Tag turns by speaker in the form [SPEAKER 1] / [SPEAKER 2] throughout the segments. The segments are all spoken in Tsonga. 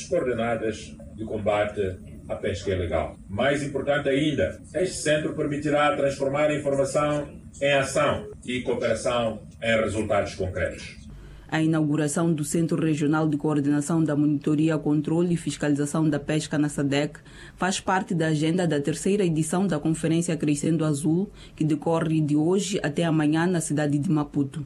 [SPEAKER 1] coordenadas de combate à pesca ilegal. Mais importante ainda, este centro permitirá transformar a informação em ação e cooperação em resultados concretos.
[SPEAKER 2] A inauguração do Centro Regional de Coordenação da Monitoria, Controle e Fiscalização da Pesca na SADC faz parte da agenda da terceira edição da Conferência Crescendo Azul, que decorre de hoje até amanhã na cidade de Maputo.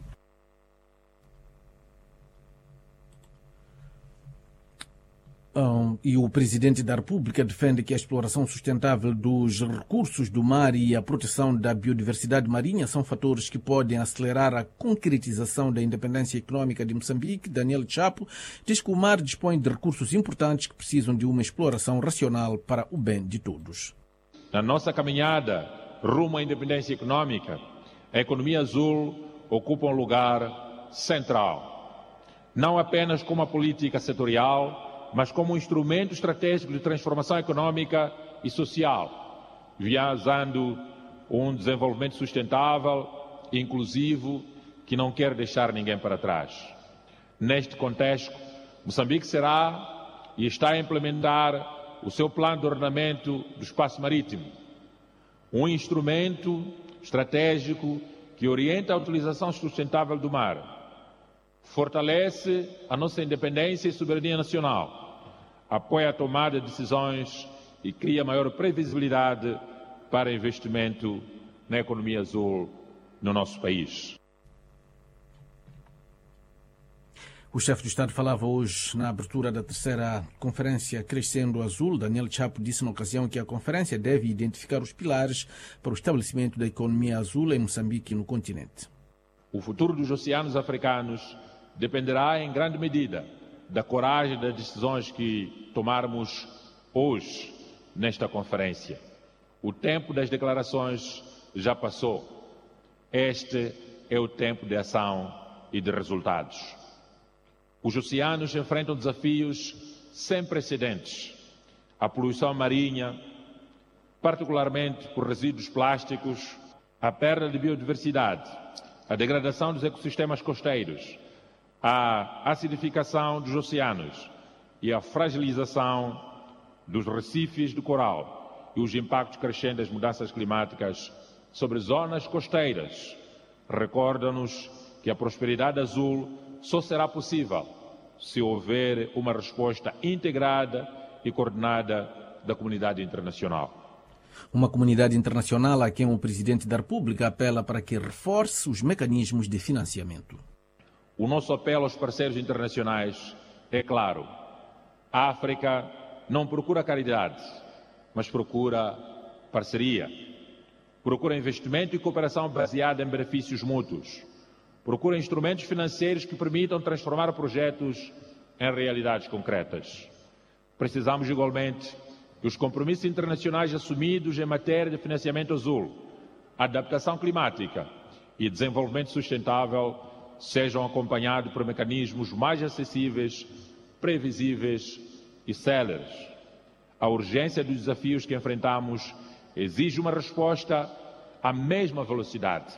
[SPEAKER 3] E o presidente da República defende que a exploração sustentável dos recursos do mar e a proteção da biodiversidade marinha são fatores que podem acelerar a concretização da independência econômica de Moçambique. Daniel Chapo diz que o mar dispõe de recursos importantes que precisam de uma exploração racional para o bem de todos.
[SPEAKER 1] Na nossa caminhada rumo à independência econômica, a economia azul ocupa um lugar central, não apenas como uma política setorial, mas como um instrumento estratégico de transformação econômica e social, visando um desenvolvimento sustentável e inclusivo que não quer deixar ninguém para trás. Neste contexto, Moçambique será e está a implementar o seu plano de ordenamento do espaço marítimo, um instrumento estratégico que orienta a utilização sustentável do mar, fortalece a nossa independência e soberania nacional, apoia a tomada de decisões e cria maior previsibilidade para investimento na economia azul no nosso país.
[SPEAKER 3] O chefe do Estado falava hoje na abertura da terceira Conferência Crescendo Azul. Daniel Chapo disse na ocasião que a conferência deve identificar os pilares para o estabelecimento da economia azul em Moçambique e no continente.
[SPEAKER 1] O futuro dos oceanos africanos dependerá em grande medida da coragem das decisões que tomarmos hoje nesta conferência. O tempo das declarações já passou. Este é o tempo de ação e de resultados. Os oceanos enfrentam desafios sem precedentes. A poluição marinha, particularmente por resíduos plásticos, a perda de biodiversidade, a degradação dos ecossistemas costeiros, a acidificação dos oceanos e a fragilização dos recifes de coral e os impactos crescentes das mudanças climáticas sobre zonas costeiras recordam-nos que a prosperidade azul só será possível se houver uma resposta integrada e coordenada da comunidade internacional.
[SPEAKER 3] Uma comunidade internacional a quem o presidente da República apela para que reforce os mecanismos de financiamento.
[SPEAKER 1] O nosso apelo aos parceiros internacionais é claro. A África não procura caridade, mas procura parceria. Procura investimento e cooperação baseada em benefícios mútuos. Procura instrumentos financeiros que permitam transformar projetos em realidades concretas. Precisamos igualmente que os compromissos internacionais assumidos em matéria de financiamento azul, adaptação climática e desenvolvimento sustentável sejam acompanhados por mecanismos mais acessíveis, previsíveis e céleres. A urgência dos desafios que enfrentamos exige uma resposta à mesma velocidade.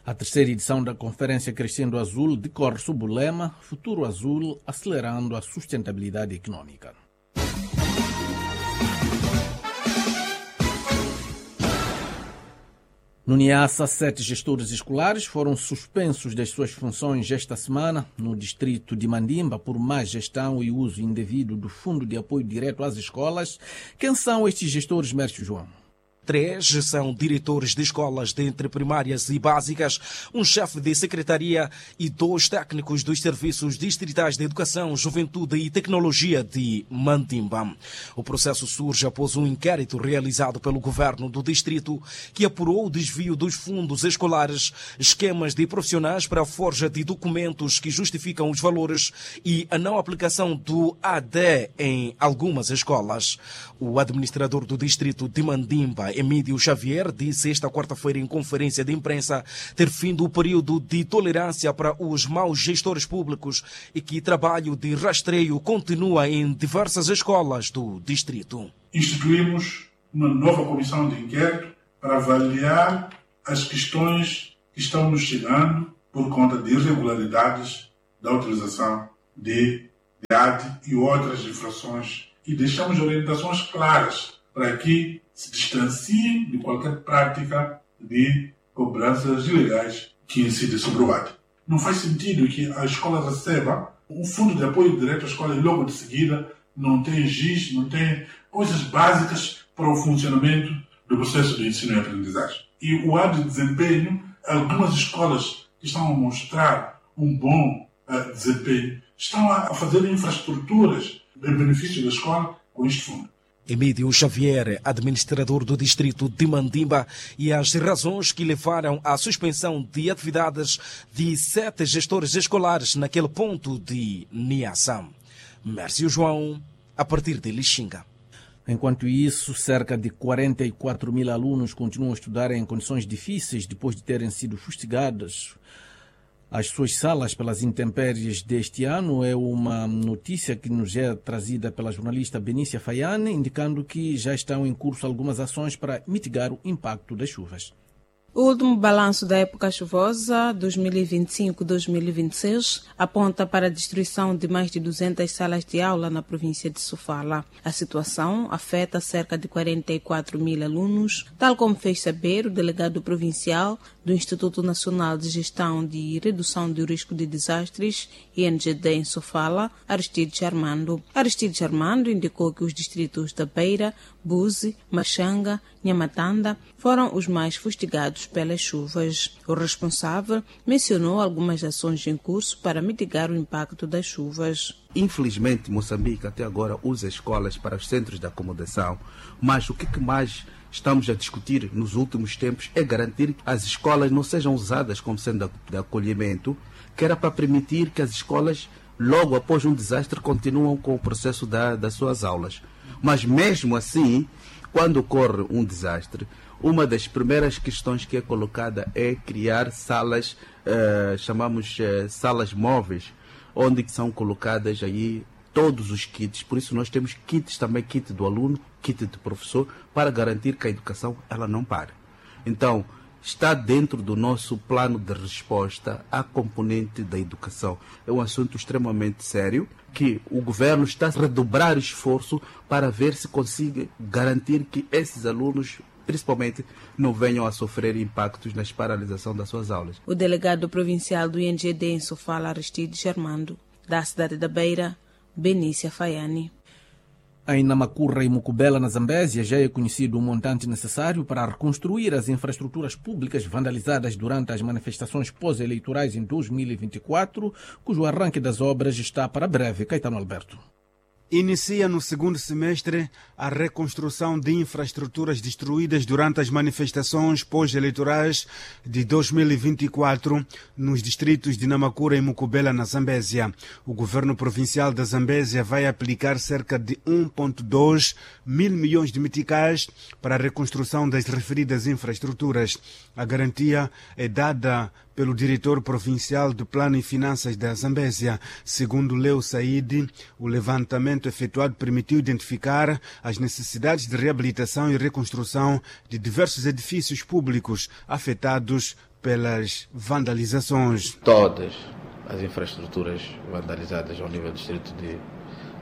[SPEAKER 3] A terceira edição da Conferência Crescendo Azul decorre sob o lema Futuro Azul, acelerando a sustentabilidade econômica. No Niassa, 7 gestores escolares foram suspensos das suas funções esta semana no distrito de Mandimba por má gestão e uso indevido do Fundo de Apoio Direto às Escolas. Quem são estes gestores, Mércio João?
[SPEAKER 4] 3 são diretores de escolas de entre primárias e básicas, um chefe de secretaria e 2 técnicos dos serviços distritais de educação, juventude e tecnologia de Mandimba. O processo surge após um inquérito realizado pelo governo do distrito que apurou o desvio dos fundos escolares, esquemas de profissionais para a forja de documentos que justificam os valores e a não aplicação do AD em algumas escolas. O administrador do distrito de Mandimba, Emílio Xavier, disse esta quarta-feira em conferência de imprensa ter findo o período de tolerância para os maus gestores públicos e que trabalho de rastreio continua em diversas escolas do distrito.
[SPEAKER 5] Instituímos uma nova comissão de inquérito para avaliar as questões que estão nos chegando por conta de irregularidades da utilização de de AD e outras infrações e deixamos orientações claras para que se distanciem de qualquer prática de cobranças ilegais que incidem sobre o AD. Não faz sentido que a escola receba um fundo de apoio direto à escola e logo de seguida não tem giz, não tem coisas básicas para o funcionamento do processo de ensino e aprendizagem. E o AD de desempenho, algumas escolas que estão a mostrar um bom desempenho, estão a fazer infraestruturas em benefício da escola com este fundo.
[SPEAKER 4] Emílio Xavier, administrador do distrito de Mandimba, e as razões que levaram à suspensão de atividades de 7 gestores escolares naquele ponto de Niassa. Mércio João, a partir de Lixinga.
[SPEAKER 3] Enquanto isso, cerca de 44 mil alunos continuam a estudar em condições difíceis depois de terem sido fustigados as suas salas pelas intempéries deste ano. É uma notícia que nos é trazida pela jornalista Benícia Fayane, indicando que já estão em curso algumas ações para mitigar o impacto das chuvas.
[SPEAKER 6] O último balanço da época chuvosa 2025-2026 aponta para a destruição de mais de 200 salas de aula na província de Sofala. A situação afeta cerca de 44 mil alunos, tal como fez saber o delegado provincial do Instituto Nacional de Gestão de Redução do Risco de Desastres, INGD, em Sofala, Aristides Armando. Aristides Armando indicou que os distritos da Beira, Buzi, Machanga, Nhamatanda foram os mais fustigados pelas chuvas. O responsável mencionou algumas ações em curso para mitigar o impacto das chuvas.
[SPEAKER 7] Infelizmente, Moçambique até agora usa escolas para os centros de acomodação, mas o que mais estamos a discutir nos últimos tempos é garantir que as escolas não sejam usadas como centro de acolhimento, que era para permitir que as escolas, logo após um desastre, continuam com o processo das suas aulas. Mas mesmo assim, quando ocorre um desastre, uma das primeiras questões que é colocada é criar salas, chamamos salas móveis, onde são colocadas aí todos os kits. Por isso nós temos kits também, kit do aluno, kit do professor, para garantir que a educação ela não pare. Então, está dentro do nosso plano de resposta à componente da educação. É um assunto extremamente sério que o governo está a redobrar esforço para ver se consegue garantir que esses alunos, principalmente, não venham a sofrer impactos na paralisação das suas aulas.
[SPEAKER 6] O delegado provincial do INGD em Sofala, Aristides Armando, da cidade da Beira, Benícia Fayane.
[SPEAKER 3] Em Namacurra e Mucubela, na Zambésia, já é conhecido o montante necessário para reconstruir as infraestruturas públicas vandalizadas durante as manifestações pós-eleitorais em 2024, cujo arranque das obras está para breve. Caetano Alberto.
[SPEAKER 8] Inicia no segundo semestre a reconstrução de infraestruturas destruídas durante as manifestações pós-eleitorais de 2024 nos distritos de Namacurra e Mucubela, na Zambésia. O governo provincial da Zambésia vai aplicar cerca de 1,2 mil milhões de meticais para a reconstrução das referidas infraestruturas. A garantia é dada pelo diretor provincial do Plano e Finanças da Zambésia. Segundo Leo Said, o levantamento efetuado permitiu identificar as necessidades de reabilitação e reconstrução de diversos edifícios públicos afetados pelas vandalizações.
[SPEAKER 9] Todas as infraestruturas vandalizadas ao nível do distrito de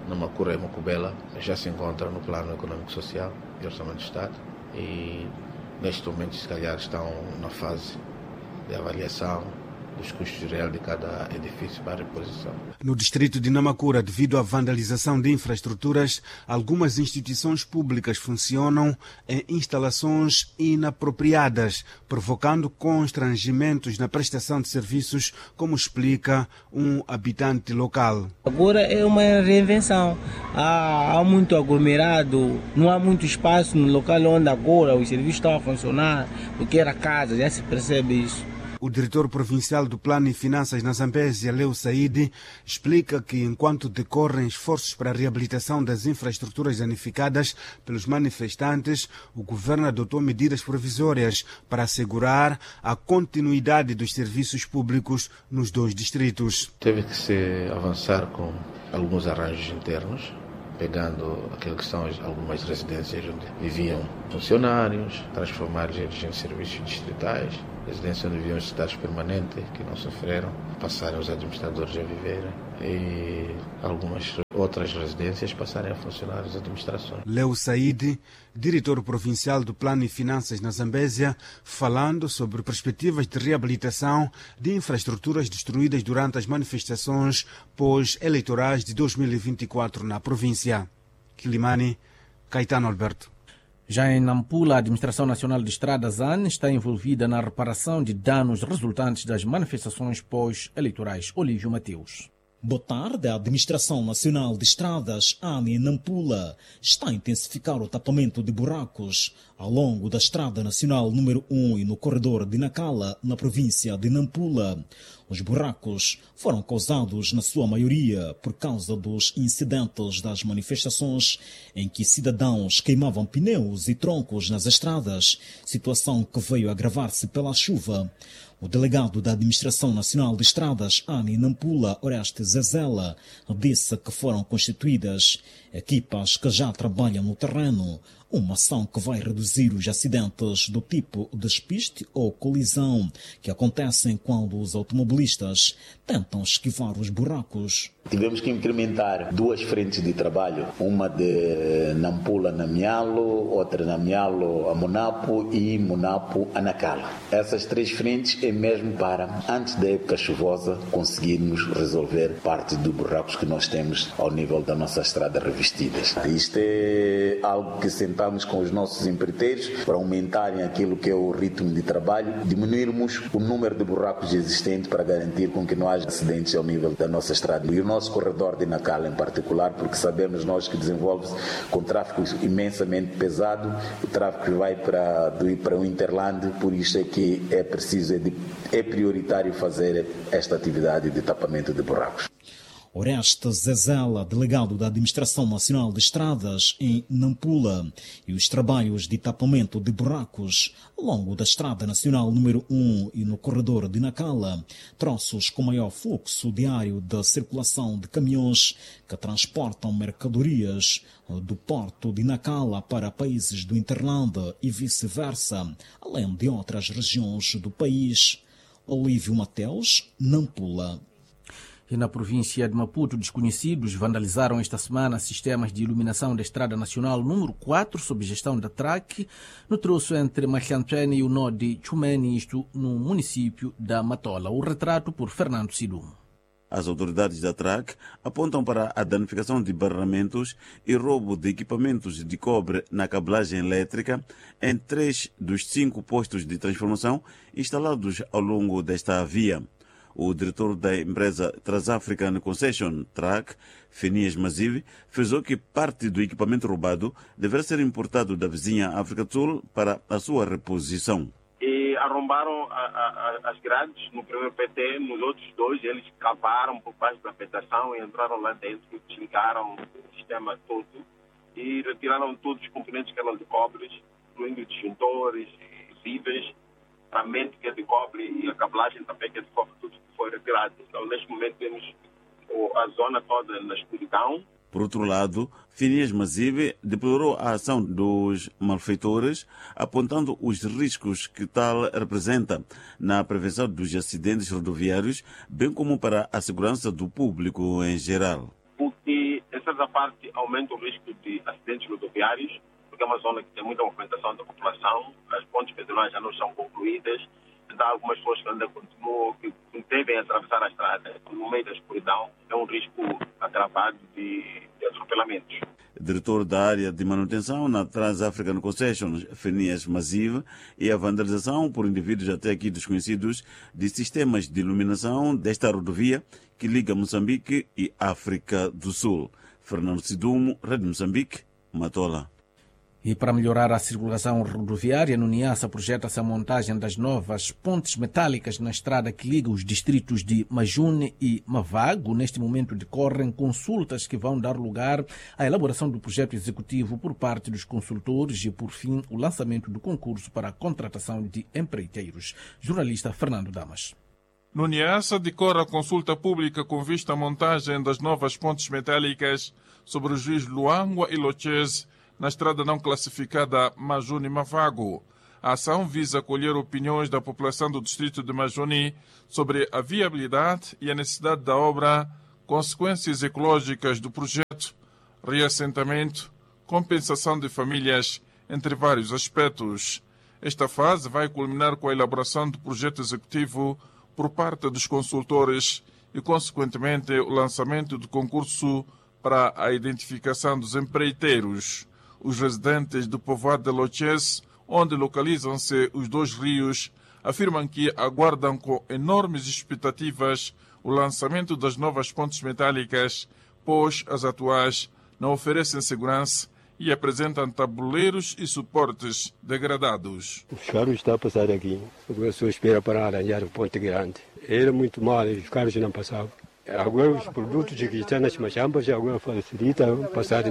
[SPEAKER 9] Namacurra e Mucubela já se encontram no Plano Econômico Social e Orçamento do Estado e, neste momento, se calhar estão na fase de avaliação dos custos reais de cada edifício para reposição.
[SPEAKER 8] No distrito de Namacurra, devido à vandalização de infraestruturas, algumas instituições públicas funcionam em instalações inapropriadas, provocando constrangimentos na prestação de serviços, como explica um habitante local.
[SPEAKER 10] Agora é uma reinvenção. Há muito aglomerado, não há muito espaço no local onde agora os serviços estão a funcionar, porque era casa, já se percebe isso.
[SPEAKER 8] O diretor provincial do Plano e Finanças na Zambésia, Leo Said, explica que enquanto decorrem esforços para a reabilitação das infraestruturas danificadas pelos manifestantes, o governo adotou medidas provisórias para assegurar a continuidade dos serviços públicos nos dois distritos.
[SPEAKER 9] Teve que se avançar com alguns arranjos internos, pegando aquilo que são algumas residências onde viviam funcionários, transformar eles em serviços distritais. Residências onde viviam os estados permanentes, que não sofreram, passaram os administradores a viver e algumas outras residências passarem a funcionar as administrações.
[SPEAKER 8] Leo Said, diretor provincial do Plano e Finanças na Zambésia, falando sobre perspectivas de reabilitação de infraestruturas destruídas durante as manifestações pós-eleitorais de 2024 na província. Quilimane, Caetano Alberto.
[SPEAKER 3] Já em Nampula, a Administração Nacional de Estradas, AN, está envolvida na reparação de danos resultantes das manifestações pós-eleitorais. Olívio Mateus.
[SPEAKER 11] Boa tarde. A Administração Nacional de Estradas, AN, em Nampula, está a intensificar o tapamento de buracos ao longo da Estrada Nacional número 1 e no corredor de Nacala, na província de Nampula. Os buracos foram causados, na sua maioria, por causa dos incidentes das manifestações em que cidadãos queimavam pneus e troncos nas estradas, situação que veio agravar-se pela chuva. O delegado da Administração Nacional de Estradas, ANI Nampula, Oreste Zezela, disse que foram constituídas equipas que já trabalham no terreno, uma ação que vai reduzir os acidentes do tipo despiste ou colisão que acontecem quando os automobilistas tentam esquivar os buracos.
[SPEAKER 12] Tivemos que incrementar duas frentes de trabalho, uma de Nampula a Namialo, outra Namialo a Monapo e Monapo a Nacala. Essas três frentes é mesmo para, antes da época chuvosa, conseguirmos resolver parte dos buracos que nós temos ao nível da nossa estrada revestidas. Isto é algo que sentamos com os nossos empreiteiros para aumentarem aquilo que é o ritmo de trabalho, diminuirmos o número de buracos existentes para garantir com que não haja acidentes ao nível da nossa estrada. E o nosso corredor de Nacala em particular, porque sabemos nós que desenvolve-se com tráfego imensamente pesado, o tráfego vai para o hinterland, por isso é que é preciso, é prioritário fazer esta atividade de tapamento de buracos.
[SPEAKER 11] Oreste Zezela, delegado da Administração Nacional de Estradas em Nampula, e os trabalhos de tapamento de buracos ao longo da Estrada Nacional número 1 e no corredor de Nacala, troços com maior fluxo diário da circulação de caminhões que transportam mercadorias do porto de Nacala para países do hinterland e vice-versa, além de outras regiões do país. Olívio Mateus, Nampula.
[SPEAKER 3] E na província de Maputo, desconhecidos vandalizaram esta semana sistemas de iluminação da Estrada Nacional número 4, sob gestão da TRAC, no troço entre Machantene e o nó de Chumene, isto no município da Matola. O retrato por Fernando Sidumo.
[SPEAKER 13] As autoridades da TRAC apontam para a danificação de barramentos e roubo de equipamentos de cobre na cablagem elétrica em 3 dos 5 postos de transformação instalados ao longo desta via. O diretor da empresa Trans-African Concession, TRAC, Fenias Mazive, frisou que parte do equipamento roubado deverá ser importado da vizinha África do Sul para a sua reposição.
[SPEAKER 14] E arrombaram as grades no primeiro PT, nos outros dois eles cavaram por baixo da vegetação e entraram lá dentro, desligaram o sistema todo e retiraram todos os componentes que eram de cobre, incluindo disjuntores, fusíveis, a mente que é de cobre e a cablagem também que é de cobre, tudo foi retirado. Então, neste momento, temos a zona toda na escuridão.
[SPEAKER 13] Por outro lado, Finias Mazive deplorou a ação dos malfeitores, apontando os riscos que tal representa na prevenção dos acidentes rodoviários, bem como para a segurança do público em geral.
[SPEAKER 14] Porque, em certa parte, aumenta o risco de acidentes rodoviários, porque é uma zona que tem muita movimentação da população, as pontes pedonais já não são concluídas, então algumas pessoas que ainda continuam, que devem atravessar a estrada no meio da escuridão, é um risco agravado de atropelamentos.
[SPEAKER 13] Diretor da área de manutenção na Trans-African Concession, Fenias Mazive, e a vandalização por indivíduos até aqui desconhecidos de sistemas de iluminação desta rodovia que liga Moçambique e África do Sul. Fernando Sidumo, Rede Moçambique, Matola.
[SPEAKER 3] E para melhorar a circulação rodoviária, no Niassa projeta-se a montagem das novas pontes metálicas na estrada que liga os distritos de Majune e Mavago. Neste momento decorrem consultas que vão dar lugar à elaboração do projeto executivo por parte dos consultores e, por fim, o lançamento do concurso para a contratação de empreiteiros. Jornalista Fernando Damas.
[SPEAKER 5] No Niassa decorre a consulta pública com vista à montagem das novas pontes metálicas sobre os rios Luangwa e Lochese, na estrada não classificada Majune-Mavago. A ação visa colher opiniões da população do distrito de Majoni sobre a viabilidade e a necessidade da obra, consequências ecológicas do projeto, reassentamento, compensação de famílias, entre vários aspectos. Esta fase vai culminar com a elaboração do projeto executivo por parte dos consultores e, consequentemente, o lançamento do concurso para a identificação dos empreiteiros. Os residentes do povoado de Loches, onde localizam-se os dois rios, afirmam que aguardam com enormes expectativas o lançamento das novas pontes metálicas, pois as atuais não oferecem segurança e apresentam tabuleiros e suportes degradados.
[SPEAKER 15] Os carros estão a passar aqui, a pessoa espera para arranjar um ponte grande. Era muito mal, os carros não passavam. Agora os produtos que estão nas machambas agora facilita passar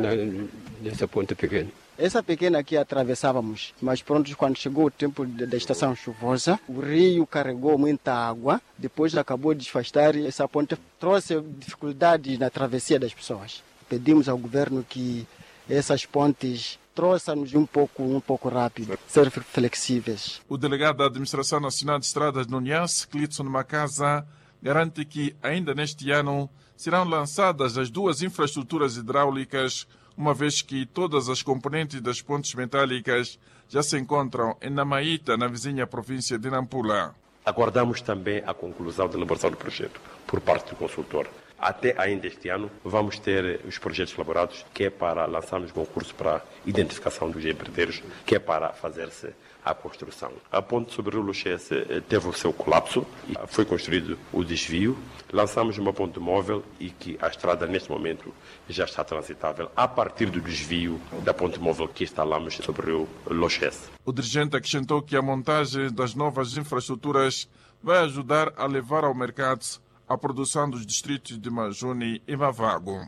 [SPEAKER 15] nessa ponte pequena.
[SPEAKER 16] Essa pequena aqui atravessávamos, mas pronto, quando chegou o tempo da estação chuvosa, o rio carregou muita água, depois acabou de desfastar e essa ponte trouxe dificuldades na travessia das pessoas. Pedimos ao governo que essas pontes trouxam-nos um pouco rápido, ser flexíveis.
[SPEAKER 5] O delegado da Administração Nacional de Estradas no Niassa, Clitson Macasa, garante que ainda neste ano serão lançadas as duas infraestruturas hidráulicas, uma vez que todas as componentes das pontes metálicas já se encontram em Namaíta, na vizinha província de Nampula.
[SPEAKER 17] Aguardamos também a conclusão da elaboração do projeto por parte do consultor. Até ainda este ano vamos ter os projetos elaborados, que é para lançarmos concurso para identificação dos empreiteiros, que é para fazer-se a construção. A ponte sobre o rio Luxesse teve o seu colapso e foi construído o desvio. Lançamos uma ponte móvel e que a estrada neste momento já está transitável a partir do desvio da ponte móvel que instalamos sobre o rio Luxesse.
[SPEAKER 5] O dirigente acrescentou que a montagem das novas infraestruturas vai ajudar a levar ao mercado a produção dos distritos de Majuni e Mavago.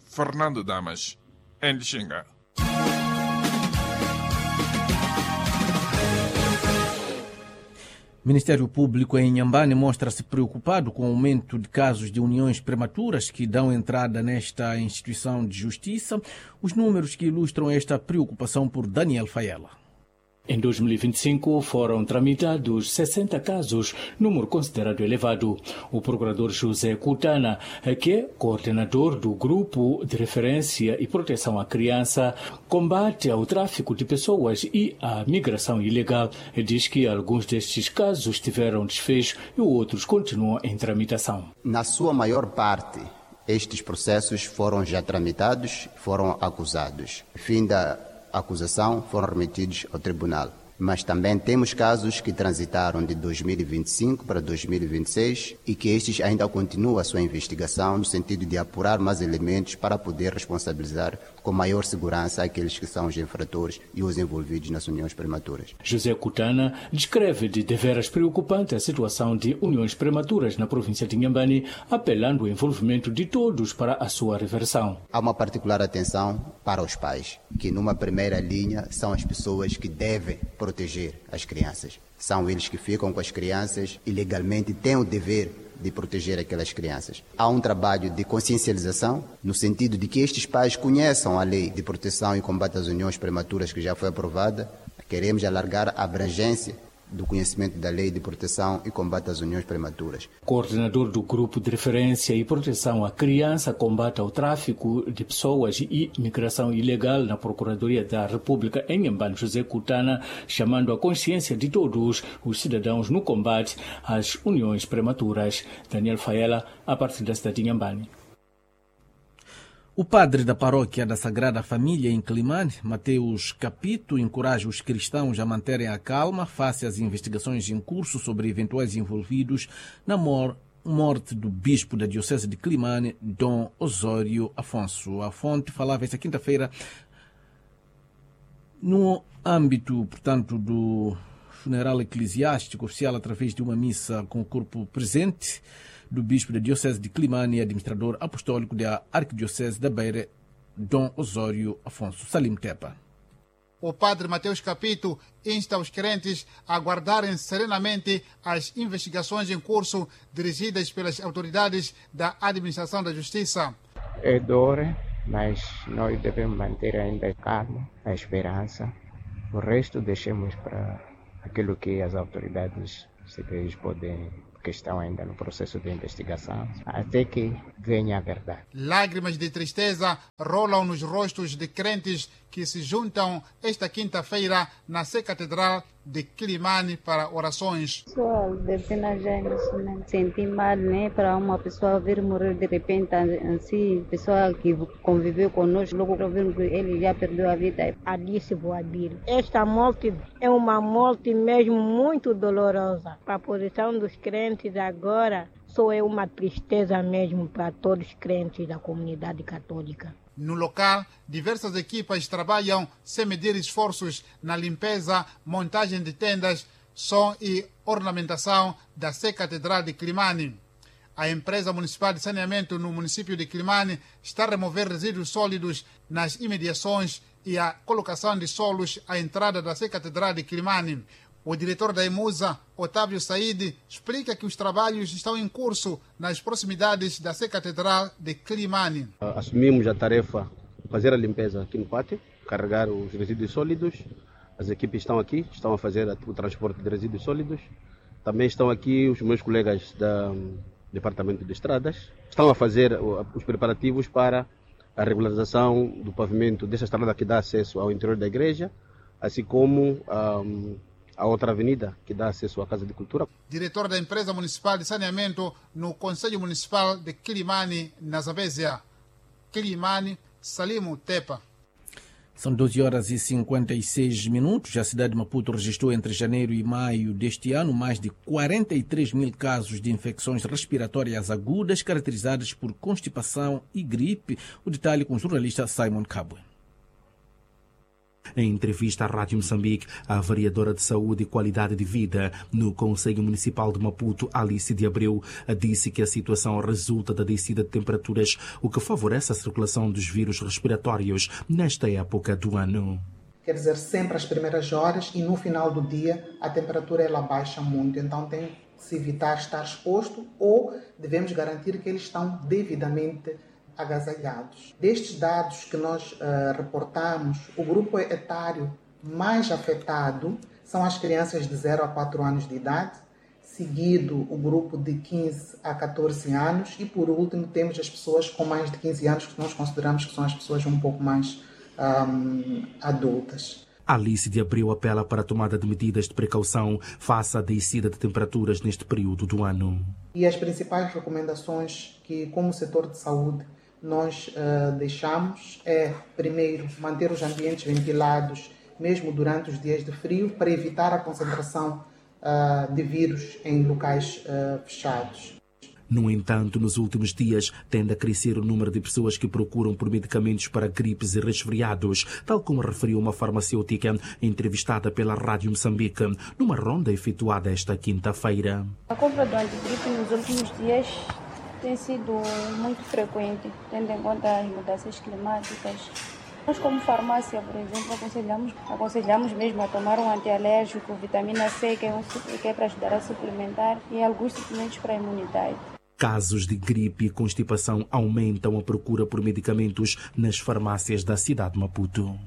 [SPEAKER 5] Fernando Damas, em Lixinga.
[SPEAKER 3] Ministério Público em Inhambane mostra-se preocupado com o aumento de casos de uniões prematuras que dão entrada nesta instituição de justiça. Os números que ilustram esta preocupação por Daniel Faela.
[SPEAKER 18] Em 2025 foram tramitados 60 casos, número considerado elevado. O procurador José Cutana, que é coordenador do Grupo de Referência e Proteção à Criança, combate ao tráfico de pessoas e à migração ilegal, diz que alguns destes casos tiveram desfecho e outros continuam em tramitação.
[SPEAKER 19] Na sua maior parte, estes processos foram já tramitados, foram acusados. Fim da acusação, foram remetidos ao tribunal. Mas também temos casos que transitaram de 2025 para 2026 e que estes ainda continuam a sua investigação no sentido de apurar mais elementos para poder responsabilizar com maior segurança aqueles que são os infratores e os envolvidos nas uniões prematuras.
[SPEAKER 18] José Cutana descreve de deveras preocupante a situação de uniões prematuras na província de Inhambane, apelando ao envolvimento de todos para a sua reversão.
[SPEAKER 19] Há uma particular atenção para os pais, que numa primeira linha são as pessoas que devem proteger as crianças. São eles que ficam com as crianças e legalmente têm o dever de proteger aquelas crianças. Há um trabalho de consciencialização, no sentido de que estes pais conheçam a lei de proteção e combate às uniões prematuras que já foi aprovada. Queremos alargar a abrangência do conhecimento da Lei de Proteção e Combate às Uniões Prematuras.
[SPEAKER 18] Coordenador do Grupo de Referência e Proteção à Criança, Combate ao Tráfico de Pessoas e Migração Ilegal na Procuradoria da República em Inhambane, José Cutana, chamando a consciência de todos os cidadãos no combate às uniões prematuras. Daniel Faela, a partir da cidade de Inhambane.
[SPEAKER 3] O padre da paróquia da Sagrada Família em Quelimane, Mateus Capito, encoraja os cristãos a manterem a calma face às investigações em curso sobre eventuais envolvidos na morte do bispo da diocese de Quelimane, Dom Osório Afonso. A fonte falava esta quinta-feira no âmbito, portanto, do funeral eclesiástico oficial através de uma missa com o corpo presente do bispo da diocese de Quelimane e administrador apostólico da arquidiocese da Beira, Dom Osório Afonso. Salim Tepa.
[SPEAKER 20] O padre Mateus Capito insta os crentes a aguardarem serenamente as investigações em curso dirigidas pelas autoridades da Administração da Justiça.
[SPEAKER 21] É dor, mas nós devemos manter ainda a calma, a esperança. O resto deixemos para aquilo que as autoridades civis podem, que estão ainda no processo de investigação, até que venha a verdade.
[SPEAKER 20] Lágrimas de tristeza rolam nos rostos de crentes que se juntam esta quinta-feira na Sé Catedral de Quilimane para orações.
[SPEAKER 2] Pessoal, de pena já emocionante. Senti mal, né? Para uma pessoa vir morrer de repente, assim, pessoa que conviveu conosco, logo ouvimos que ele já perdeu a vida.
[SPEAKER 22] Alice Boabilo. Esta morte é uma morte mesmo muito dolorosa. Para a posição dos crentes agora, só é uma tristeza mesmo para todos os crentes da comunidade católica.
[SPEAKER 20] No local, diversas equipas trabalham sem medir esforços na limpeza, montagem de tendas, som e ornamentação da Sé Catedral de Quilimane. A empresa municipal de saneamento no município de Quilimane está a remover resíduos sólidos nas imediações e a colocação de solos à entrada da Sé Catedral de Quilimane. O diretor da EMUSA, Otávio Said, explica que os trabalhos estão em curso nas proximidades da Sé Catedral de Quilimane.
[SPEAKER 23] Assumimos a tarefa de fazer a limpeza aqui no pátio, carregar os resíduos sólidos. As equipes estão aqui, estão a fazer o transporte de resíduos sólidos. Também estão aqui os meus colegas do Departamento de Estradas. Estão a fazer os preparativos para a regularização do pavimento dessa estrada que dá acesso ao interior da igreja, assim como a outra avenida que dá acesso à Casa de Cultura.
[SPEAKER 20] Diretor da Empresa Municipal de Saneamento no Conselho Municipal de Quilimane, na Zambézia. Quilimane, Salimo Tepa.
[SPEAKER 3] São 12h56. A cidade de Maputo registrou entre janeiro e maio deste ano mais de 43 mil casos de infecções respiratórias agudas caracterizadas por constipação e gripe. O detalhe com o jornalista Simon Cabwe.
[SPEAKER 4] Em entrevista à Rádio Moçambique, a vereadora de Saúde e Qualidade de Vida no Conselho Municipal de Maputo, Alice de Abreu, disse que a situação resulta da descida de temperaturas, o que favorece a circulação dos vírus respiratórios nesta época do ano.
[SPEAKER 24] Quer dizer, sempre às primeiras horas e no final do dia a temperatura ela baixa muito, então tem que se evitar estar exposto ou devemos garantir que eles estão devidamente agasalhados. Destes dados que nós reportamos, o grupo etário mais afetado são as crianças de 0 a 4 anos de idade, seguido o grupo de 15 a 14 anos e, por último, temos as pessoas com mais de 15 anos, que nós consideramos que são as pessoas um pouco mais adultas.
[SPEAKER 4] Alice de Abreu apela para a tomada de medidas de precaução face à descida de temperaturas neste período do ano.
[SPEAKER 24] E as principais recomendações que, como setor de saúde, nós deixamos é, primeiro, manter os ambientes ventilados, mesmo durante os dias de frio, para evitar a concentração de vírus em locais fechados.
[SPEAKER 4] No entanto, nos últimos dias, tende a crescer o número de pessoas que procuram por medicamentos para gripes e resfriados, tal como referiu uma farmacêutica entrevistada pela Rádio Moçambique, numa ronda efetuada esta quinta-feira.
[SPEAKER 2] A compra do antigripe nos últimos dias tem sido muito frequente, tendo em conta as mudanças climáticas. Nós, como farmácia, por exemplo, aconselhamos mesmo a tomar um antialérgico, vitamina C, que é para ajudar a suplementar, e alguns suplementos para a imunidade.
[SPEAKER 4] Casos de gripe e constipação aumentam a procura por medicamentos nas farmácias da cidade de Maputo.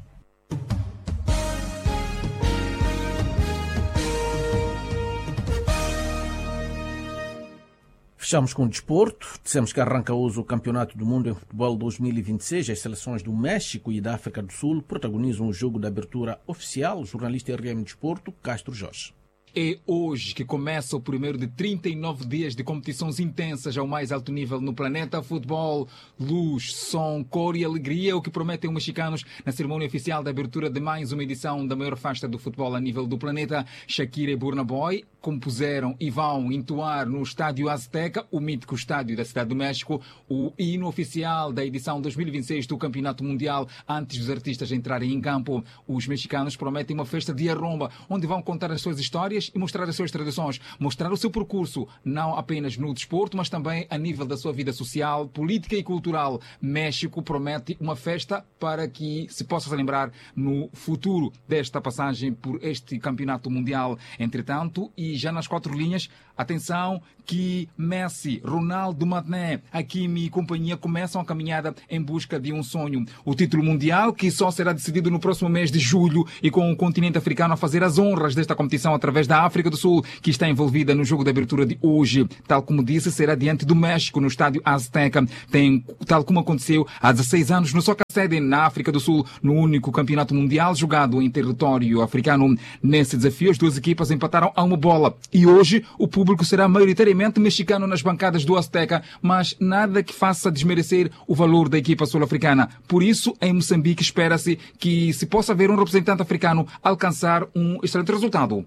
[SPEAKER 3] Fechamos com o desporto. Dissemos que arranca hoje o Campeonato do Mundo em Futebol 2026. As seleções do México e da África do Sul protagonizam o jogo da abertura oficial. O jornalista RM Desporto, Castro Jorge.
[SPEAKER 25] É hoje que começa o primeiro de 39 dias de competições intensas ao mais alto nível no planeta. Futebol, luz, som, cor e alegria é o que prometem os mexicanos na cerimônia oficial da abertura de mais uma edição da maior festa do futebol a nível do planeta. Shakira e Burna Boy compuseram e vão entoar no Estádio Azteca, o mítico estádio da Cidade do México, o hino oficial da edição 2026 do Campeonato Mundial, antes dos artistas entrarem em campo. Os mexicanos prometem uma festa de arromba, onde vão contar as suas histórias vez e mostrar as suas tradições, mostrar o seu percurso, não apenas no desporto, mas também a nível da sua vida social, política e cultural. México promete uma festa para que se possa lembrar no futuro desta passagem por este campeonato mundial. Entretanto, e já nas quatro linhas, atenção que Messi, Ronaldo, Mané, Hakimi e companhia começam a caminhada em busca de um sonho. O título mundial, que só será decidido no próximo mês de julho e com o continente africano a fazer as honras desta competição através da África do Sul, que está envolvida no jogo de abertura de hoje. Tal como disse, será diante do México, no estádio Azteca. Tal como aconteceu há 16 anos no Soccer Stadium, na África do Sul, no único campeonato mundial jogado em território africano. Nesse desafio, as duas equipas empataram a uma bola. E hoje, o público será maioritariamente mexicano nas bancadas do Azteca, mas nada que faça desmerecer o valor da equipa sul-africana. Por isso, em Moçambique, espera-se que se possa ver um representante africano alcançar um excelente resultado.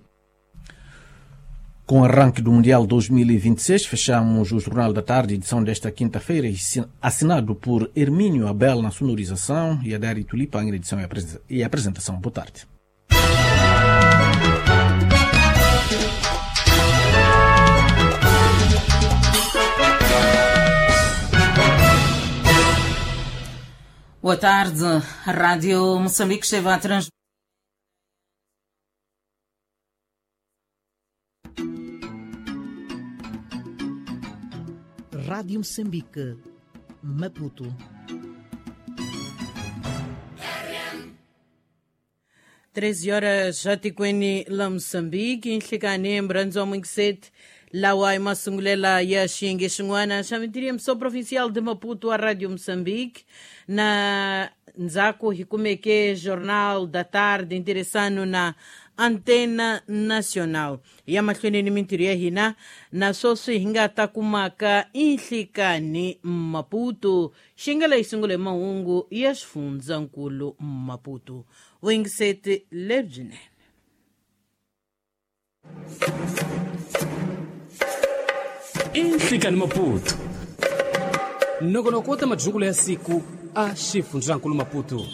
[SPEAKER 3] Com o arranque do Mundial 2026, fechamos o Jornal da Tarde, edição desta quinta-feira, assinado por Hermínio Abel na sonorização e Adério Tulipa na edição e apresentação. Boa tarde.
[SPEAKER 1] Boa tarde. A Rádio Moçambique esteve a transmitir
[SPEAKER 6] Rádio Moçambique, Maputo.
[SPEAKER 1] 13 horas atikweni la Moçambique, nhlikani mrhandzi wa Mungiseti lawa i masungulela ya xiyenge xin'wana xa mintirho provincial de Maputo a Rádio Moçambique. Na ndzhaku hi kumeke Jornal da Tarde interessano na Antena Nacional. Ya mahlweni ni mintirho ya hina na sweswi hi nga ta kumaka inhlikani Maputo. Xi nga leyi sungule mahungu ya xifundzankulu Maputo. Vuyingiseti lebyinene.
[SPEAKER 7] Inhlikani Maputo. Nongonoko wa ta majungula ya siku a xifundzankulu Maputo.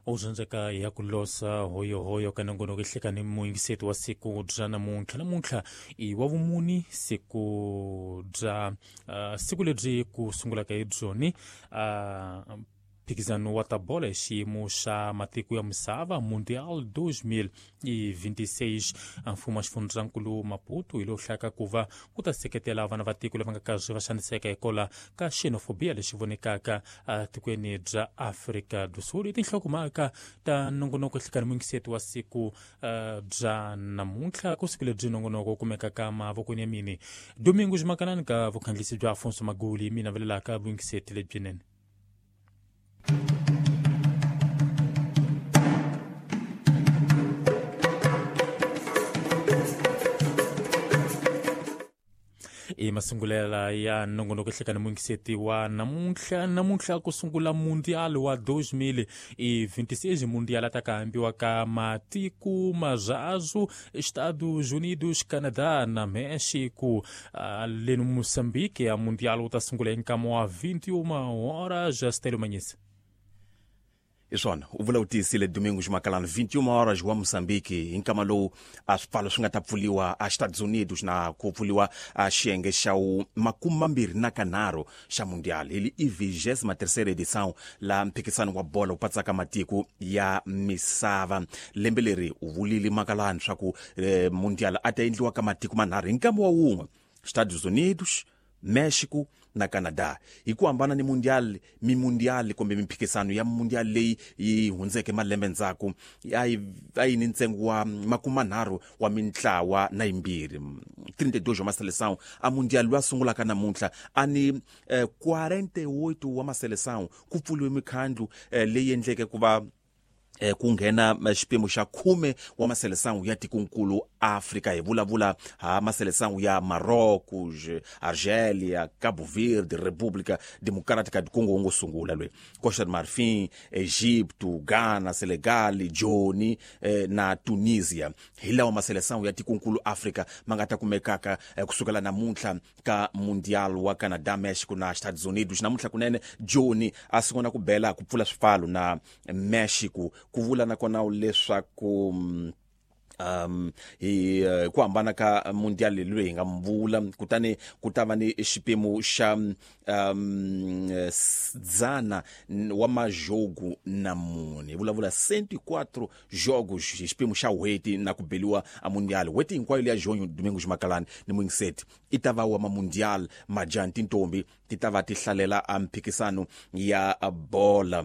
[SPEAKER 9] Uzanzeka ya kulosa hoyohoyo ka nongonoko nhlikani muyingiseti wa siku bya namuntlha. Namuntlha i wa vumuni, siku bya siku lebyi ku sungulaka hi byoni mphikizano wa tabola hi xiyimo xa matiko ya misava Mundial 2026. Mfumo wa xifundzankulu Maputo hi lowu hlaka ku va ku ta seketela vana va tiko lava nga karhi va xaniseka hikwalaho ka xenofobia lexi vonekaka tikweni bya Afrika do Sul. I tinhlokomhaka ta nongonoko nhlikani muyingiseti wa siku bya namuntlha. Ku siku lebyi nongonoko wu kumekaka mavokweni ya mini Domingo Ximakanani ka vukhandlisi bya Afonso Maguli, mina velelaka vuyingiseti lebyinene. I masungulela ya nongonoko nhlikani muyingiseti wa namuntlha. Namuntlha ku sungula Mundial wa 2026, Mundial ta ka hambiwa ka matiko mazhazu Estados Unidos, Canadá na México. Le no Moçambique a Mundial wu ta sungula hi nkama wa 21 horas. Stélio Manhisa.
[SPEAKER 10] Iswona u vula u tiyisile Domingos Makalani 21 horas wa Moçambique hi nkama lowu a swipfalo swi nga ta pfuliwa a Estados Unidos na ku pfuliwa a xiyenge xa 25 xa Mundial. Hi i 23ª edição la mphikisano wa bola wu patsaka matiko ya misava. Lembe leri u vulile Makalani swa ku Mundial a ta endliwa ka matiko manharhu hi nkama wa wun'we, Estados Unidos, México na Canada. Hi ku hambana ni mundial, mimundial kumbe mimphikisano ya mundial leyi yi hundzeke malembe ndzhaku a yi ni ntsengo wa 30 wa mintlawa na yimbirhi 32 wa maseleção. A mundial lowu a sungulaka namuntlha a ni 48 wa maseleção. Ku pfuliwe mikhandlu leyi endleke ku va ku nghena xipimo xa 10 wa maseleção ya tikonkulu Afrika hi vulavula ha maseleção ya Marrocos, Argélia, Cabo Verde, República Democrática do Congo ngo sungula lwe Costa do Marfim, Egipto, Ghana, Senegal, Joni na Tunisia. Hi lawa maseleção ya tikonkulu Afrika ma nga ta kumekaka kusukela namuntlha ka Mundial wa Canada, Mexico na Estados Unidos. Namuntlha kunene Joni a sungula ku bela ku pfula swipfalo na Mexico ku vula nakona leswaku hi ku hambana ka mundial leyi hi nga mvula kutani ku ta va ni xipimo xa 104 wa majogo na mune, hi vulavula 104 jogos hi xipimo xa n'hweti na ku beliwa a mundial n'hweti hinkwayo leya Junho Domingos Makalani ni Muingiseti i ta va wa mamundial majani tintombi ti ta va ti hlalela a mphikisano ya bola.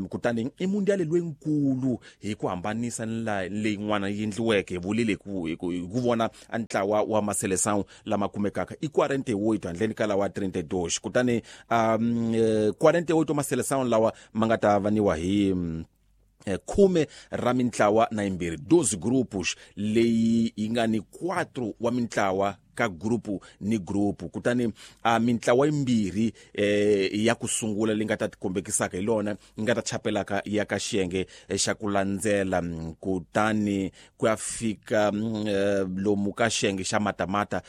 [SPEAKER 10] Kutani i mundial loyinkulu hi ku hambanisa ni leyin'wana yi endliweke hi vulile hi ku vona a ntlawa wa maseleção lama kumekaka i 48 handleni ka lawa 32. Kutani 48 wa maseleção lawa ma nga ta vaniwa hi 10 ra mintlawa na 2 12 grupos leyi yi nga ni 4 wa mintlawa ka grupu ni grupu. Kutani mintlawa yimbirhi ya ku sungula leyi nga ta tikombekisaka hi lona yi nga ta chapelaka ya ka xiyenge xa ku landzela kutani ku ya fika lomu ka xiyenge xa matamata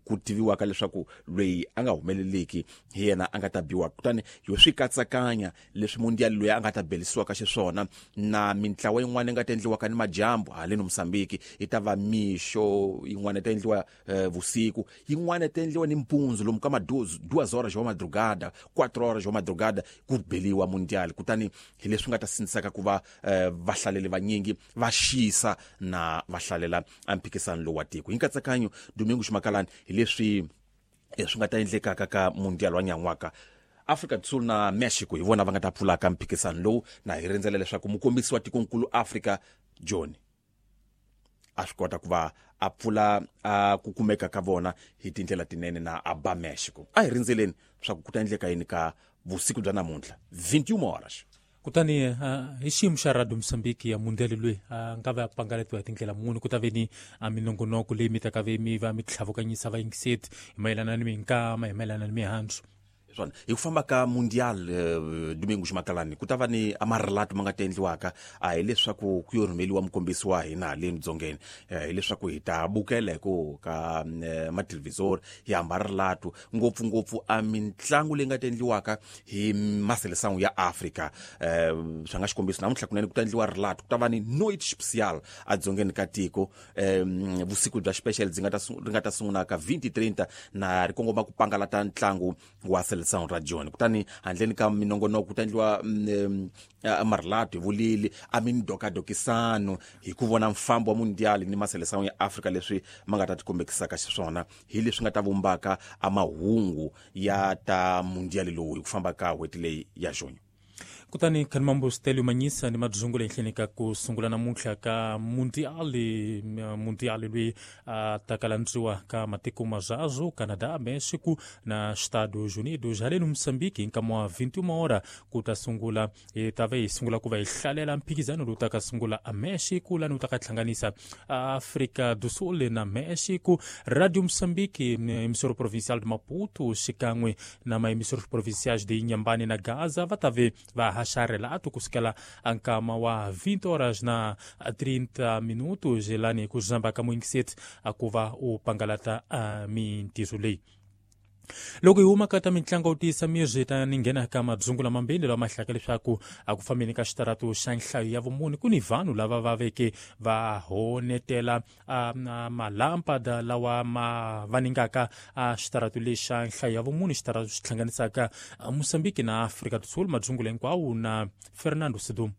[SPEAKER 10] ku tiviwaka leswaku loyi a nga humeleliki hi yena a nga ta biwa. Kutani yo swi katsakanya leswi mundial loyi a nga ta belisiwaka xiswona na mintlawa yin'wana yi nga ta endliwaka ni madyambu haleni Mozambique yi ta va mixo yin'wana ta endliwa vusiku yin'wana ta endliwa ni mpundzu lomu ka ma 2 horas wa madrugada 4 horas wa madrugada ku beliwa mundial. Kutani hi leswi nga ta sindzisaka ku va vahlaleli vanyingi va xisa na va hlalela mphikisano lowu wa tiko hi nkatsakanyo Domingos Makalani hi leswi swi nga ta endlekaka ka mundial wa nyan'waka. Afrika do Sul na Mexico hi vona va nga ta pfulaka mphikisano lowu na hi rindzela leswaku mukombisi wa tikonkulu Afrika Joni a swi kota ku va a pfula ku kumeka ka vona hi tindlela tinene na a ba Mexico. A hi rindzeleni swa ku ta endleka yini ka vusiku bya namuntlha 21 horas.
[SPEAKER 9] Kutani hi xiyimo xa Radio Mozambique ya mundial loyi a nga va pangaletiwa hi tindlela muni ku ta ve ni minongonoko leyi mi ta ka ve mi va mi tlhavukanyisa vayingiseti hi mayelana ni minkama hi mayelana ni mihandzu
[SPEAKER 10] swona hi ku famba ka mundial Domingos Makalani ku ta va ni amarelato ma nga ta endliwaka a hi leswaku ku yo rhumeliwa mukombisi wa hina haleni dzongeni hileswaku hi ta bukela hi ku ka mathelevhizori hi hamba rilatu ngopfungopfu a mitlangu leyi nga ta endliwaka hi maseleção ya Afrika. Swa nga xikombiso namuntlha kunene ku ta endliwa rilatu ku ta va ni noite special edzongeni ka tiko vusiku bya special byi nga ta sungula ka 20:30 na ri kongoma ku pangalata ntlangu wa seleção ra Joni. Kutani handleni ka minongonoko ku ta endliwa marilatu hi vulili a mindokadokisano hi ku vona mfambo wa mundial ni maseleção ya Afrika leswi ma nga ta tikombekisaka xiswona hi leswi nga ta vumbaka a mahungu ya ta mundial lowu hi ku famba ka n'hweti leyi ya Junho.
[SPEAKER 9] Kutani Khanimambo Stelio Manyisa ni madzungu leyi ka ku sungula namuntlha ka mundial loyi a ta kalandziwa ka matiko mazazwo Canada, Mexico na Estados Unidos. Haleni Mozambique nkama wa 21 hora ku ta sungula hi ta va hi sungula ku va hi hlalela mphikizano lowu ta ka sungula a Mexico lani wu ta ka hlanganisa Afrika do Sul na Mexico. Radio Mozambique emissora provincial de Maputo xikan'we na maemissoras provinciais de Inhambane na Gaza va ta ve va haxa relato kusukela ankama wa 20 horas na 30 minutos lani ku zamba ka muingiseti akuva u pangalata mintirho leyi. Loko hi huma ka ta mitlangu wu tiyisa miri ta ni nghena ka madzungu lamambirhi lama hlaka leswaku a ku fambeni ka xitaratu xa nhlayo ya vumune ku ni vanhu lava va veke va honetela malampada lawa ma vaningaka xitaratu lexa nhlayo ya vumune xitaratu xi hlanganisaka Mozambique na Afrika do Sul. Madzungu hinkwawo na Fernando Sidum.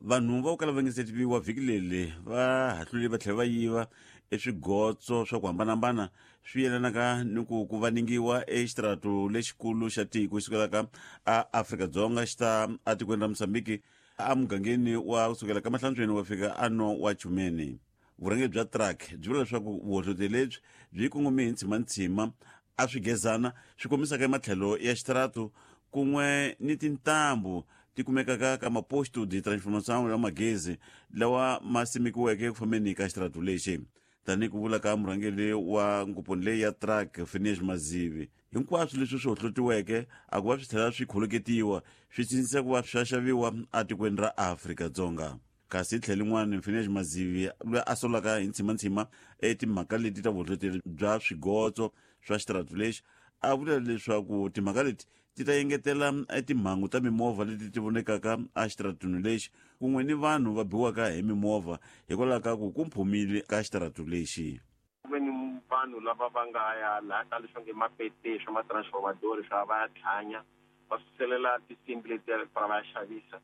[SPEAKER 8] Vanhu va ku kala va nge se tiviwa vhiki leri va hahlule va tlhela va yiva eswigotso swa ku hambanahambana swi yelanaka ni ku ku vaningiwa exitaratu lexikulu xa tiko xi sukelaka a Afrika-Dzonga xi ta etikweni ra Mozambique emugangeni wa kusukela ka Mahlantsweni wa fika ano wa Chumeni. Vurhangeri bya truck byi vula leswaku vuhohloti lebyi byi kongome hi ntshimantsima a swigezana swi kombisaka ematlhelo ya xitaratu kun'we ni tintambu ti kumekaka ka maposto de transformação ya magezi lawa ma simekiweke eku fambeni ka xitaratu lexi. Tanihi ku vula ka murhangeri wa ngoponi leyi ya truck Phineas Mazivi, hinkwaswo leswi swi hohlotiweke a ku va swi tlhela swi kholoketiwa swi cincisa ku va swa xaviwa etikweni ra Afrika-Dzonga. Kasi tlhelo rin'wana Phineas Mazivi loyi a solaka hi ntshimantsima etimhaka leti ta vuhlohloteri bya swigotso swa xitaratu lexi a vula leswaku timhaka leti ti ta engetela timhangu ta mimovha leti ti vonekaka exitaratuni lexi kun'we ni vanhu va biwaka hi mimovha hikwalaho ka ku ku mphumile ka xitaratu lexi.
[SPEAKER 11] Ku ve ni vanhu lava va nga ya laha ka leswi nge mapete swa matransformadori swa va ya tlhanya va suselela tinsimbi letiya va va ya xavisa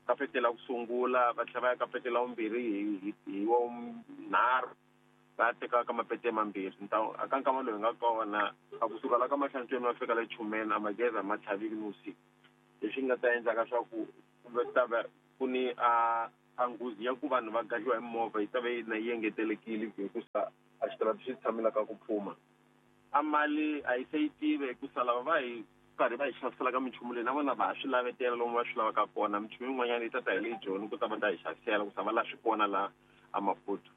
[SPEAKER 11] kapetela ku sungula va tlhela va ya kapetela vumbirhi hi wa nharhu va teka ka mapete mambirhi. Aka nkama lowu hi nga kona a kusuka la ka Mahlantsweni va fika le Chumeni a magezi a ma tlhaviki ni vusiku, leswi nga ta endlaka swa ku ta va ku ni a nghozi ya ku vanhu va gadliwa hi mimovha yi ta va yi na yi engetelekile hikusa a xitaratu xi tshamelaka ku phuma. A mali a yi se yi tive hikusa lava va hi karhi va hi xavisela ka minchumu leyi na vona va ha swi lavetela lomu va swi lavaka kona. Minchumu yin'wanyana yi ta ta hi le Joni ku ta va ta hi xavisela ku sa va laha swi kona laha a Maputo.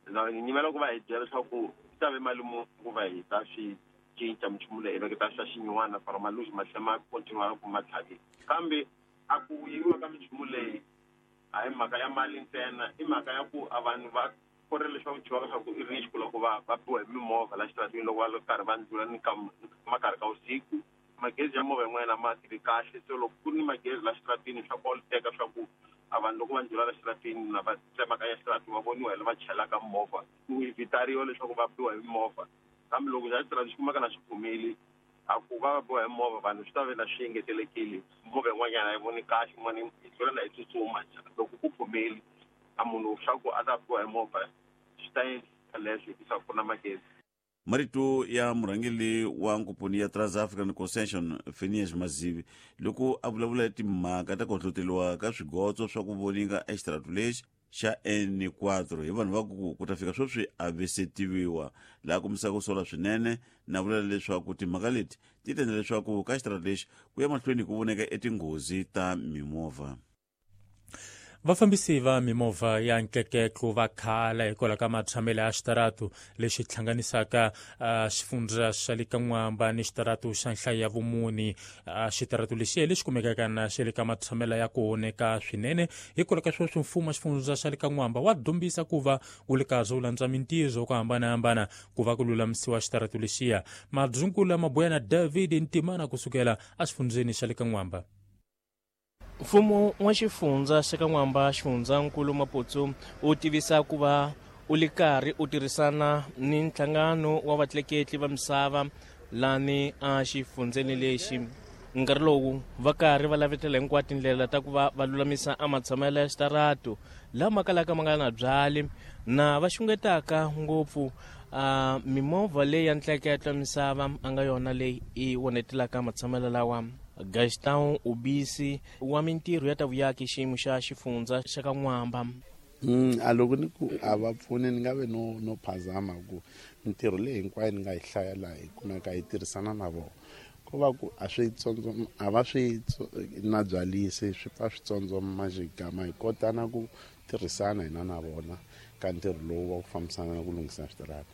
[SPEAKER 11] Ni nyimela ku va hi byela leswaku ta ve mali muni ku va hi ta swi cinca minchumu leyi hi veketa swa xinyiwana for maluzi ma tlhela ma continue ku ma tlhavile. Kambe a ku yiviwa ka minchumu leyi a hi mhaka ya mali ntsena, i mhaka ya ku a vanhu va korile leswaku dyiwaka swa ku i risk loko va va biwa hi mimovha la xitaratini loko va karhi va ndlula ni ka makarhi ka vusiku. Magezi ya movha yin'wana ma tirhi kahle, so loko ku ri ni magezi la xitaratini swa koloteka swa ku a vanhu loko va ndlula la xitaratini na va tsemakanya xitaratu va voniwa hi lava chelaka movha ku evitariwa leswaku va biwa hi mimovha. Kambe loko xa xitaratu xi kumeka na xi phumile a ku va va biwa hi movha vanhu swi ta ve na swi engetelekile. Movha yin'wanyana a yi voni kahle, yin'wana yi tlula na yi tsutsuma. Loko ku phumile a munhu swa ku a ta biwa hi movha swi ta endla leswo hikusa ku na magezi.
[SPEAKER 8] Marito ya murhangeri wa nkuponi ya Trans-African Concession Phineas Mazivi loko a vulavula hi timhaka ta ku hlohloteriwa ka swigotso swa ku voninga exitaratu lexi xa N4 hi vanhu va ku ku ta fika sweswi a ve se tiviwa, laha kombisaka ku sola swinene na vula leswaku timhaka leti ti ta endla leswaku ka xitaratu lexi ku ya mahlweni ku voneka etinghozi ta mimovha.
[SPEAKER 9] Vafambisi va mimovha ya ntleketlo va khala hikwalaho ka matshamelo ya xitaratu lexi hlanganisaka xifundza xa le ka N'wamba ni xitaratu xa nhlayo ya vumuni. Xitaratu lexi lexi kumekaka na xa le ka matshamelo ya ku oneka swinene hikwalaho ka sweswi mfumo wa xifundza xa le ka N'wamba wa dombisa ku va wu le karhi wu landza mintirho ku hambanahambana ku va ku lulamisiwa xitaratu lexiya. Madzungula Mabuyana David Ntimana kusukela exifundzeni xa le ka N'wamba.
[SPEAKER 12] Mfumo wa xifundza xa ka N'wamba xifundzankulu Maputo u tivisa ku va u le karhi u tirhisana ni nhlangano wa vatleketli va misava lani a xifundzeni lexi. Nkarhi lowu va karhi va lavetela hinkwato tindlela ta ku va va lulamisa a matshamelo ya xitaratu lama kalaka ma nga na byali na va xungetaka ngopfu a mimovha leyi ya ntleketlo misava a nga yona leyi i onetelaka matshamelo lawa. Gaston Ubisi wa mintirho ya ta vuyaki xiyimo xa xifundza xa ka N'wamba.
[SPEAKER 13] A loko ni ku a va pfuni ni nga ve no phazama ku mintirho leyi hinkwayo ni nga yi hlaya laha hi kumeka hi tirhisana na vona. Ko va ku a swi a va swi na byalisi swi pfa swi tsondzoma xigama hi kota na ku tirhisana hina na vona ka ntirho lowu wa ku fambisana na ku lunghisa switarata.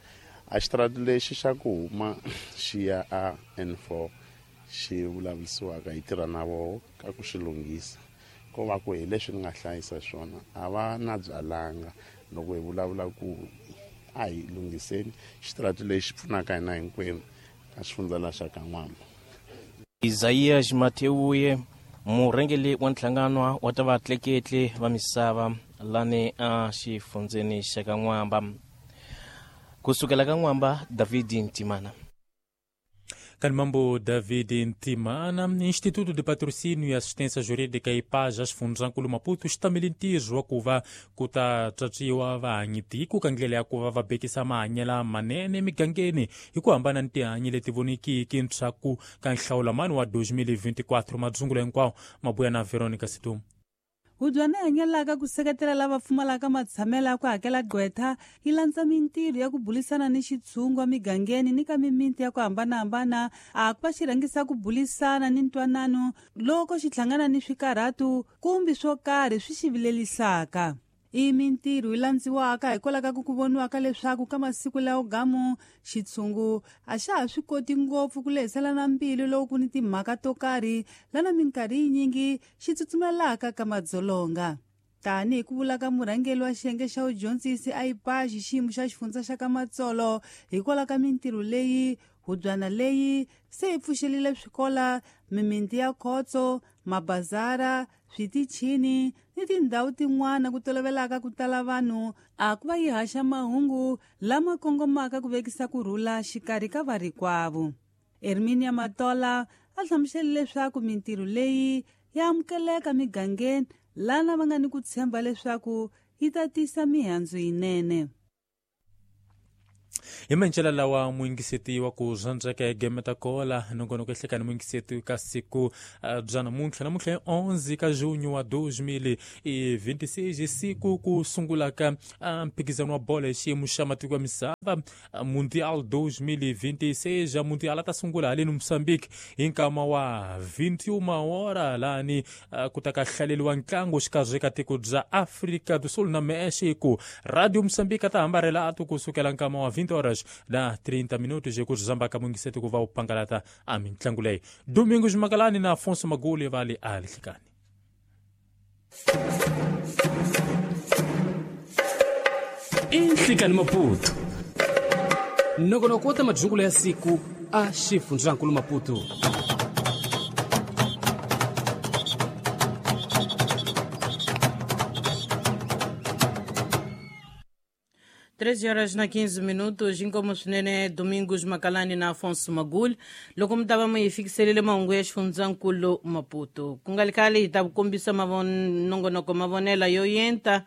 [SPEAKER 13] A xitarata lexi xa ku huma xi ya a N4 xi vulavurisiwaka hi tirha na voho ka ku xi lunghisa. Ko va ku hi leswi ni nga hlayisa swona a va na byalanga loko hi vulavula ku a hi lunghiseni xitarata lexi pfunaka hina hinkwenu ka xifundza la xa ka N'wamba.
[SPEAKER 12] Isaias Mateuye murhangeri wa nhlangano wa ta vatleketli va misava lani a xifundzeni xa ka N'wamba. Kusukela ka N'wamba, David Ntimana.
[SPEAKER 9] Kanimambo David Ntimana, Instituto de Patrocínio e Assistência Jurídica IPAJA xifundzankulu Maputo xi tamele ntirho wa ku va ku ta tswatswiwa vahanyitiko ka ndlela ya ku va va bekisa mahanyelo manene emigangeni hi ku hambana ni tihanyi leti vonekiki ntshaku ka nhlawulamani wa 2024. Madzungulo hinkwawo mabuya na Veronica Situm.
[SPEAKER 5] Hubyana hanyelaka ku seketela lava pfumalaka matshamelo ya ku hakela gqwetha yi landza mintirho ya ku bulisana ni xitshungu emigangeni ni ka mimiti ya ku hambanahambana a ku va xi rhangisa ku bulisana ni ntwanano loko xi hlangana ni swikarhatu kumbe swo karhi swi xi vilelisaka. I mintirho yi landziwaka hikwalaho ka ku voniwaka leswaku ka masiku lawo gamu xitshungu a xa ha swi koti ngopfu ku lehiselana mbilu loko ku ni timhaka to karhi lana minkarhi yinyingi xi tsutsumelaka ka madzolonga. Tanihi ku vula ka murhangeri wa xiyenge xa vudyondzisi a IPAJ xiyimo xa xifundza xa ka Matsolo, hikwalaho ka mintirho leyi hubyana leyi se yi pfuxelile swikola, mimiti ya khotso, mabazara, switichini ni tindhawu tin'wana ku tolovelaka ku tala vanhu a ku va yi haxa mahungu lama kongomaka ku vekisa ku rhula xikarhi ka varikwavo. Herminia Matola a hlamusele leswaku mintirho leyi ya amukeleka migangeni lana va nga ni ku tshemba leswaku yi ta tisa mihandzu yinene.
[SPEAKER 9] Hi mancela lawa muyingiseti wa ku zwandzeka egemeta kola nongonoko ehlekani muyingiseti ka siku bya namuntlha namuntlha hi 11 ka junho wa 2026 siku ku sungulaka mphikizano wa bolo hi xiyimo xa matiko ya misava Mundial 2026. Mundial a ta sungula haleni Mozambique hi nkama wa 21 hora lani ku ta ka hlaleriwa ntlangu xikarhi ka tiko bya Afrika do Sul na Mexico. Radio Mozambique a ta hambarela atu kusukela nkama wa 20 horas na 30 minutos ku zambaka muyingiseti ku va u pangalata a mintlangu leyi. Domingos Magalani na Afonso Maguli va le Alihlekani.
[SPEAKER 7] Inhlikani Maputo nongonoko wa ta majungulo ya siku a xifundzankulu Maputo.
[SPEAKER 1] Treze horas na 15 minutos, inkomo swinene Domingos Makalani na Afonso Magul loko mi ta va mi hi fikiselile mahungu ya xifundzankulu Maputo. Ku nga li khale hi ta ku kombisa nongonoko mavonela yo yenta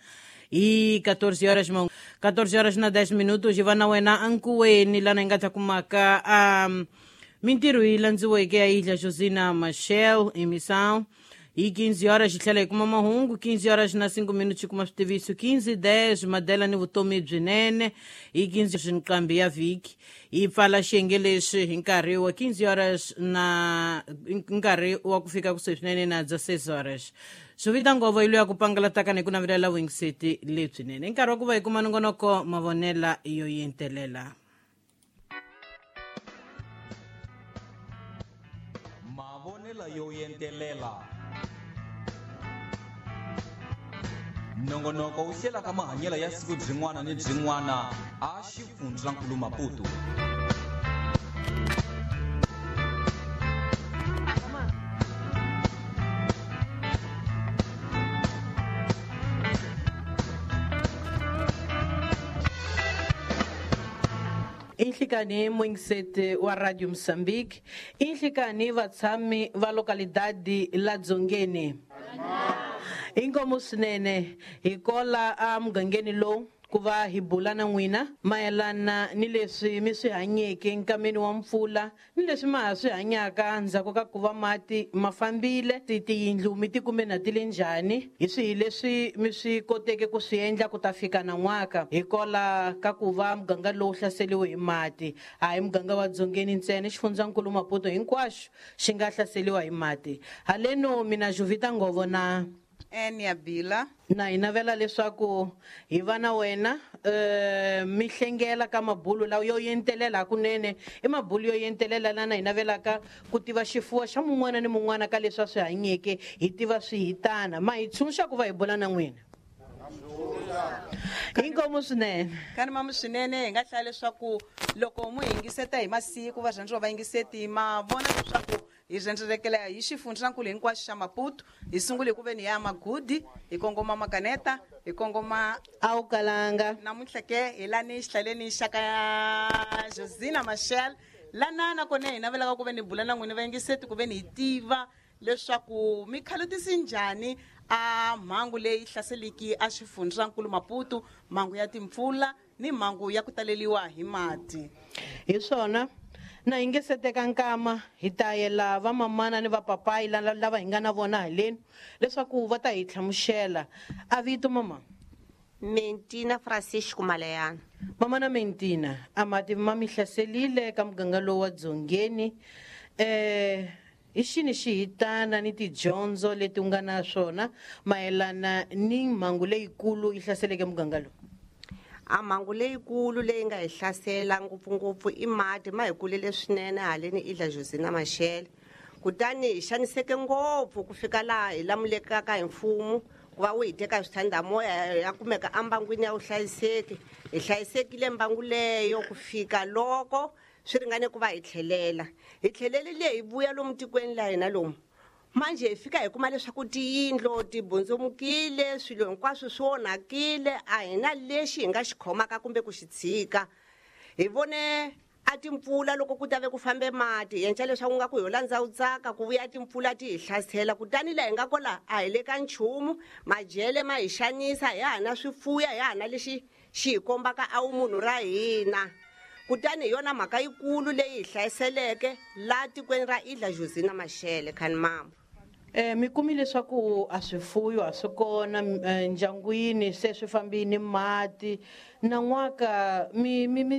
[SPEAKER 1] hi 14 horas 14 horas na 10 minutos hi va na wena ankuweni lana hi nga ta kumaka mintirho yi landziweke ya Ilha Josina Machel emissão. Hi 15 horas hi tlhela hi kuma mahungu, 15 horas na 5 minutos hi kuma switiviso, 15:10 madela ni vutomi byinene, hi 15 nqambi ya vhiki hi pfala xiyenge lexi hi nkarhi wa 15 horas na nkarhi wa ku fika kusuhi swinene na 16 horas. Swi ngovo yi loyi ku pangalataka ni ku navelela vuyingiseti lebyinene. I nkarhi wa ku va hi kuma nongonoko mavonela yo yentelela.
[SPEAKER 14] Mavonela yo yentelela. Nongonoko wu hlelaka mahanyelo ya siku byin'wana ni byin'wana a xifundzankulu Maputo.
[SPEAKER 1] Inhlikani muyingiseti wa Radio Mozambique, inhlikani vatshami va localidade la Dzongeni. Inkomo swinene hi kola a mugangeni lowu ku va hi bula na n'wina mayelana ni leswi mi swi hanyeke nkameni wa mpfula ni leswi ma ha swi hanyaka ndzhaku ka ku va mati ma fambile, tiyindlu mi ti kume na ti le njhani, hi swihi leswi mi swi koteke ku swi endla ku ta fika nan'waka hi kola ka ku va muganga lowu hlaseriwe hi mati. A hi muganga wa Dzongeni ntsena, xifundzankulu Maputo hinkwaxo xi nga hlaseriwa hi mati. Haleno mina Jovita Ngovo na
[SPEAKER 15] Enia Bila
[SPEAKER 1] na hi navela leswaku hi va na wena mi hlengela ka mabulu lawa yo yentelela hakunene i mabulu yo yentelela lana hi navelaka ku tiva xifuwo xa mun'wana ni mun'wana ka leswi a swi hanyeke, hi tiva swihitana. Ma hi tshunxa ku va hi bula na n'wina. Inkomo swinene.
[SPEAKER 15] Kani mamu swinene hi nga hlaya leswaku loko mu yingiseta hi masiku varhandziwa va yingiseti ma vona leswaku hi rhendzelekela hi xifundzankulu hinkwaxo xa Maputo. Hi sungule ku veni ya Magudi, hi kongoma Makaneta, hi kongoma
[SPEAKER 1] Awukalanga.
[SPEAKER 15] Namuntlha ke hi lani xihlaleni xa ka Josina Machel lana nakona hi navelaka ku ve ni bula na n'wina va yingiseti ku ve ni hi tiva leswaku mi khalutisi njhani a mhangu leyi hlaseliki a xifundzankulu Maputo, mhangu ya timpfula ni mhangu ya ku taleliwa hi mati.
[SPEAKER 1] Hi swona. Na hi nge se teka nkama hi ta yela vamamana ni vapapayi lava hi nga na vona haleni leswaku va ta hi hlamusela. A vito mama?
[SPEAKER 16] Mentina Francisco Malayana.
[SPEAKER 1] Mamana Mentina, a mati ma mi hlaselile ka muganga lowu wa Dzongeni. Hi xini xihitana ni tidyondzo leti u nga na swona mayelana ni mhangu leyikulu yi hlaseleke muganga lowu?
[SPEAKER 16] A mhangu leyikulu leyi nga hi hlasela ngopfungopfu i mati, ma hi kulele swinene haleni Ilha Josina Machel. Kutani hi xaniseke ngopfu ku fika laha hi lamulekaka hi mfumo ku va wu hi teka swithandamoya ya kumeka embangwini ya vuhlayiseki. Hi hlayisekile mbangu leyo ku fika loko swi ringane ku va hi tlhelela. Hi tlhelelile hi vuya lomu tikweni la hina lomu. Manje hi fika hi kuma leswaku tiyindlo ti bundzumukile, swilo hinkwaswo swi onhakile, a hi na lexi hi nga xi khomaka kumbe ku xi tshika. Hi vone a timpfula loko ku ta ve ku fambe mati, hi endla leswaku nga ku ho landza u tsaka ku vuya timpfula ti hi hlasela. Kutani laha hi nga kola a hi le ka nchumu, majele ma hi xanisa, hi ha na swifuya, hi ha na lexi xi hi kombaka a wu munhu ra hina. Kutani hi yona mhaka yikulu leyi hi hlayiseleke laha tikweni ra Ilha Josina Machel Khanimambo.
[SPEAKER 1] Mi kumi leswaku a swifuyo a swi kona ndyangwini, se swi fambini mati nan'waka mi mi mi